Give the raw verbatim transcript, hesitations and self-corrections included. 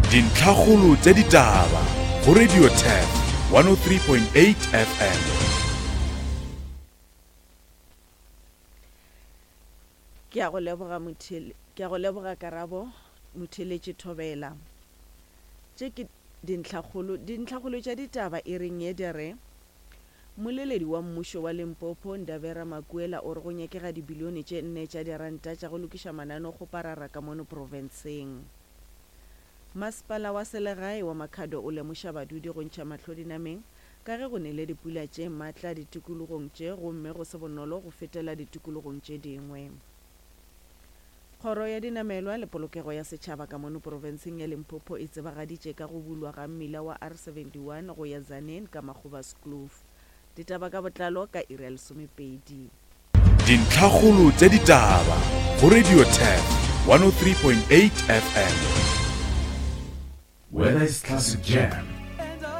Dintlhakgolo tša ditaba go Radio Turf one oh three point eight F M. Ke a go leboga mothele, ke a go leboga Karabo Motheletše Thobela. Tše ke dintlhakgolo, dintlhakgolo tša ditaba e reng ye di re Mmoleledi wa mmušo wa Limpopo, Ndavera Makuela, o re go nyakega dibilione tše nne tša diranta tša go lokiša mananeokgoparara ka mono profenseng. Masepala wa selegae wa Makhado o lemoša badudi go ntšha mahlo dinameng ka ge go nele dipula tše matla ditikologong tše gomme go se bonolo go fetela ditikologong tše dingwe. Kgoro ya Dinamelwa le Polokego ya Setšhaba ka mono profenseng ya Limpopo e tsebagaditše ka go bulwa ga mmila wa R seventy-one go ya Tzaneen ka Makgobaskloof. Ditaba ka botlalo ka iri ya lesomepedi. Dintlhakgolo tša ditaba go Radio Turf one oh three point eight F M. Whether it's classic jam,